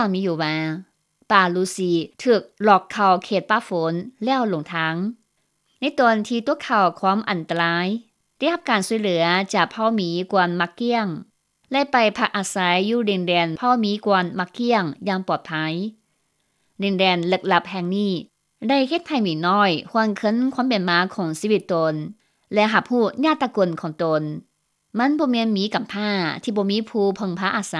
າມີຢູ່ວ່າ ປາລູຊີຖືກລອກເຂົ້າເຂດປ່າຝົນແລ້ວຫຼົງທາງ. ໃນຕອນທີ່ຕົວເຂົ້າຄວາມອັນຕະລາຍ, ໄດ້ຮັບການຊ່ວຍເຫຼືອຈາກເຜົ່າໝີກວນມາກກ້ຽງ ແລະ ໄປພັກອາໄສຢູ່ດິນແດນເຜົ່າໝີກວນມາກກ້ຽງຢ່າງປອດໄພ. ດິນແດນເລິກລັບແຫ່ງນີ້ໄດ້ເຮັດໃຫ້ໝີນ້ອຍຫວນຄືນຄວາມເປັນມາຂອງຊີວິດຕົນ ແລະ ຮັບຮູ້ຍາດຕະກຸນຂອງຕົນ. ມັນບໍ່ແມ່ນໝີກຳພ້າທີ່ບໍ່ມີຜູ້ເພິ່ງພາອາໄສ,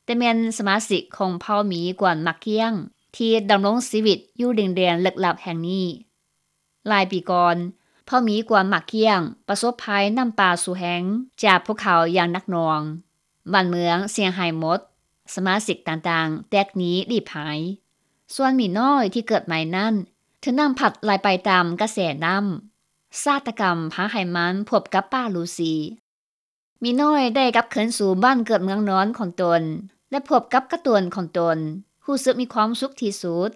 ແຕ່ແມ່ນສະມາຊິກຂອງເຜົ່າໝີກວນມາກກ້ຽງ ທີ່ດຳລົງຊີວິດຢູ່ດິນແດນເລິກລັບແຫ່ງນີ້. ຫຼາຍປີກ່ອນ, ເຜົ່າໝີກວນມາກກ້ຽງປະສົບໄພນ້ຳປ່າສູແຮງຈາກພູເຂົາຢ່າງໜັກໜ່ວງ. ບ້ານເມືອງເສຍຫາຍໝົດ, ສະມາຊິກຕ່າງໆແຕກໜີລີ້ພາຍ. ສ່ວນໝີນ້ອຍທີ່ເກີດໃໝ່ນັ້ນ ຖືກນ້ຳພັດໄຫຼໄປຕາມກະແສນ້ຳ. ຊາຕະກຳພາໃຫ້ມັນພົບກັບປາລູຊີ. ໝີນ້ອຍໄດ້ກັບຄືນສູ່ບ້ານເກີດເມືອງນອນຂອງຕົນ ແລະ ພົບກັບກະໂຕນຂອງຕົນ, ຮູ້ສຶກມີຄວາມສຸກທີ່ສຸດ.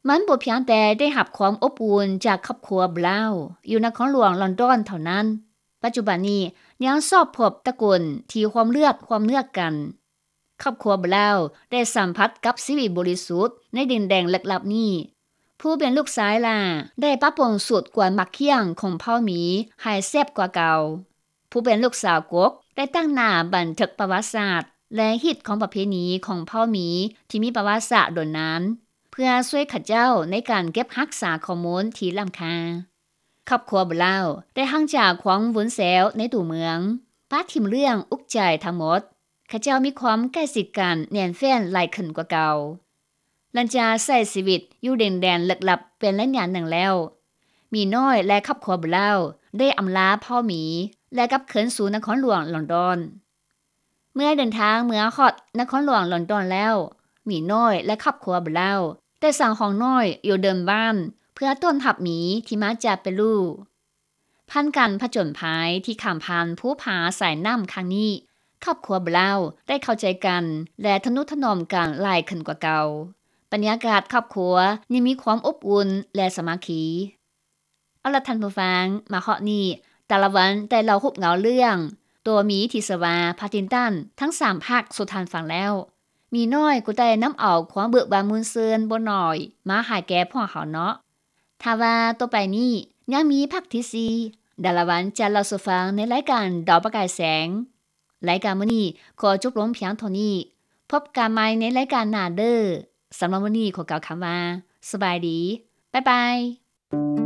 ມັນບໍ່ພຽງແຕ່ໄດ້ຮັບຄວາມອົບອຸ່ນຈາກຄອບຄົວບຣາວຢູ່ນະຄອນຫຼວງລອນດອນເທົ່ານັ້ນ, ປັດຈຸບັນນີ້ຍັງຊອບພົບຕະກຸນທີ່ຮ່ວມເລືອດຮ່ວມເນື້ອກັນ. ຄອບຄົວບຣາວໄດ້ສຳຜັດກັບຊີວິດບໍລິສຸດໃນດິນແດນເລິກລັບນີ້. ຜູ້ເປັນລູກຊາຍຫຼ້າໄດ້ປັບປຸງສູດກວນໝາກກ້ຽງຂອງເຜົ່າໝີໃຫ້ແຊບກວ່າເກົ່າ. ຜູ້ເປັນລູກສາວກົກໄດ້ຕັ້ງໜ້າບັນທຶກປະຫວັດສາດ ແລະ ຮີດຄອງປະເພນີຂອງເຜົ່າໝີທີ່ມີປະຫວັດສາດດົນນານ ເພື່ອຊ່ວຍເຂົາເຈົ້າໃນການເກັບຮັກສາຂໍ້ມູນທີ່ລ້ຳຄ່າ. ຄອບຄົວບຣາວໄດ້ຫ່າງຈາກຄວາມວຸນແຊວໃນຕົວເມືອງ, ປະຖິ້ມເລື່ອງອຸກໃຈທັງໝົດ. ເຂົາເຈົ້າມີຄວາມໃກ້ຊິດກັນແໜ້ນແຟ້ນຫຼາຍຂຶ້ນກວ່າເກົ່າ. ຫຼັງຈາກໃຊ້ຊີວິດຢູ່ດິນແດນເລິກລັບເປັນໄລຍະໜຶ່ງແລ້ວ, ໝີນ້ອຍ ແລະ ຄອບຄົວບຣາວໄດ້ອຳລາເຜົ່າໝີ ແລະ ກັບຄືນສູ່ນະຄອນຫຼວງລອນດອນ. ເມື່ອເດີນທາງເມືອຮອດນະຄອນຫຼວງລອນດອນແລ້ວ, ໝີນ້ອຍ ແລະ ຄອບຄົວບຣາວໄດ້ສ້າງຫ້ອງນ້ອຍຢູ່ເດີ່ນບ້ານເພື່ອຕ້ອນຮັບໝີທີ່ມາຈາກເປຣູ. ຜ່ານການຜະຈົນໄພທີ່ຂ້າມຜ່ານພູຜາສາຍນ້ຳຄັ້ງນີ້, ຄອບຄົວບຣາວໄດ້ເຂົ້າໃຈກັນ ແລະ ທະນຸຖະໜອມກັນຫຼາຍຂຶ້ນກວ່າເກົ່າ. ບັນຍາກາດຄອບຄົວຍັງມີຄວາມອົບອຸ່ນ ແລະ ສາມັກຄີ. ເອົາລະທ່ານຜູ້ຟັງ, ມາຮອດນີ້ ຕາລະວັນໄດ້ເລົ່າຮູບເງົາເລື່ອງຕົວໝີທີ່ຊື່ວ່າ Paddington ທັງສາມພາກສູ່ທ່ານຟັງແລ້ວ. ໝີນ້ອຍກໍໄດ້ນຳເອົາຄວາມເບີກບານມ່ວນຊື່ນບໍ່ໜ້ອຍມາໃຫ້ແກ່ພວກເຮົາເນາະ. ຖ້າວ່າຕໍ່ໄປນີ້ຍັງມີພາກທີສີ່, ດາລະວັນຈະເລົ່າສູ່ຟັງໃນລາຍການດາວປະກາຍແສງ. ລາຍການມື້ນີ້ຂໍຈົບລົງພຽງເທົ່ານີ້. ພົບກັນໃໝ່ໃນລາຍການໜ້າເດີ້. ສຳລັບມື້ນີ້ຂໍກ່າວຄຳວ່າ ສະບາຍດີ. ບາຍບາຍ.